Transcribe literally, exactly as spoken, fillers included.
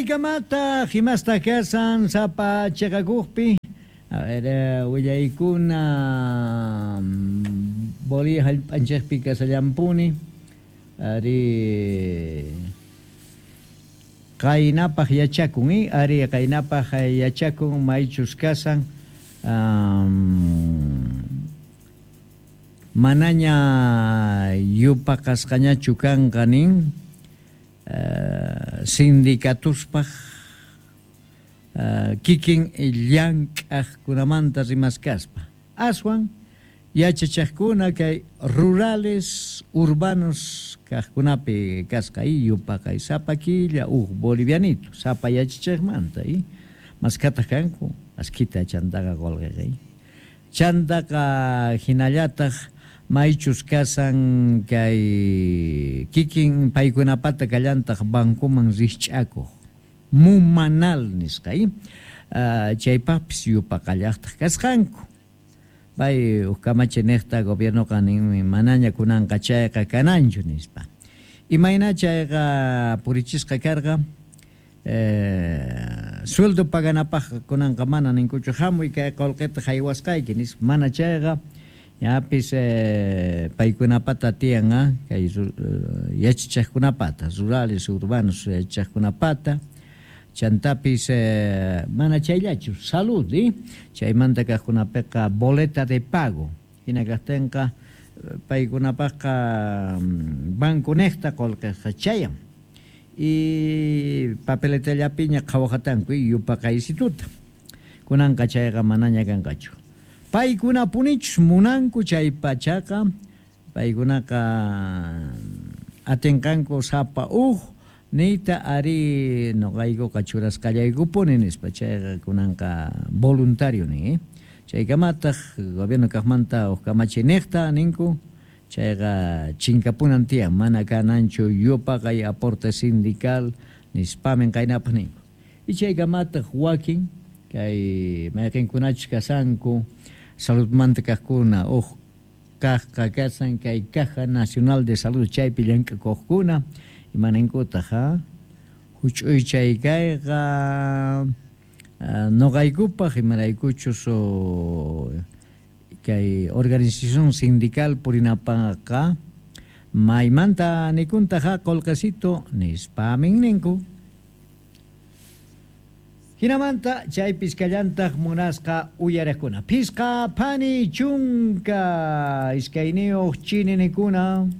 Chaykamata himasta kasan sapa chiqakuqpi. A ver, willaykuna Bolivia hallp'anchikpi kasallampuni. Ari qaynapaq yachakun, eh? Ari qaynapaq yachakun maychus kasan um, manaña yupaqasqañachu kanqa nin uh, sindicatuspaq uh, kikin llank'aqkunamanta rimaskaspa aswan yachachaqkuna kay rurales urbanos kaqkunapi kasqa y yupaqay sapa killa uj bolivianito sapa yachachaqmanta y maskataq kanku askita chantaqa qulqiqa chantaqa hinallataq maychus kasan kay kikin paykunapata kallantaq bancoman rikch'akuq mumanal nisqa y uh, chaypaqpis yupaqallaqtaq kasqanku pay uj kamachi niqta gobiernoqa ninmi manaña kunanqa chayqa kananchu nispa imayna chayqa purichisqa karqa eh, sueldo paganapaq kunanqa mana ninkuchu hamuy kay qullqita haywasqayki nispa mana chayqa ñapis eh, paykunapata tiyan ah, kay uh, yachachaqkunapata rurales urbanos yachachaqkunapata chantapis eh, mana chayllachu salud eh? Chaymanta kaqkunapiqa boleta de pago hina kaqtinqa paykunapaqqa banco niqta qullqiqa chayan y papeletallapiña qhawaqatanku yupaqaysituta kunanqa chayqa manaña kanqachu paykunapunichus munanku chay pachaqa paykunaqa atinqanku sapa uj niyta ari nuqaykuqa churasqallaykupuni nispa chayqa kunanqa voluntario nin eh? Chaykamataq gobierno kaqmanta uj kamachi niqta ninku chayqa chinkapunan tiyan mana kananchu yupaqay aporte sindical nispamin qaynapaq ninku y chaykamataq wakin kay mayqinkunachus kasanku saludmanta kaqkuna uj kaqqa kasan kay Caja Nacional de Salud chaypi llank'akuqkuna imaninkutaq ha huch'uy chay kayqa nuqaykupaq imaraykuchus kay organización sindical purinapaqqa maymanta nikuntaqa qullqisito nispamin ninku hinamanta chaypis kallantaq munasqa uyariqkuna phisqa phani chunka iskayniyuq chininikuna.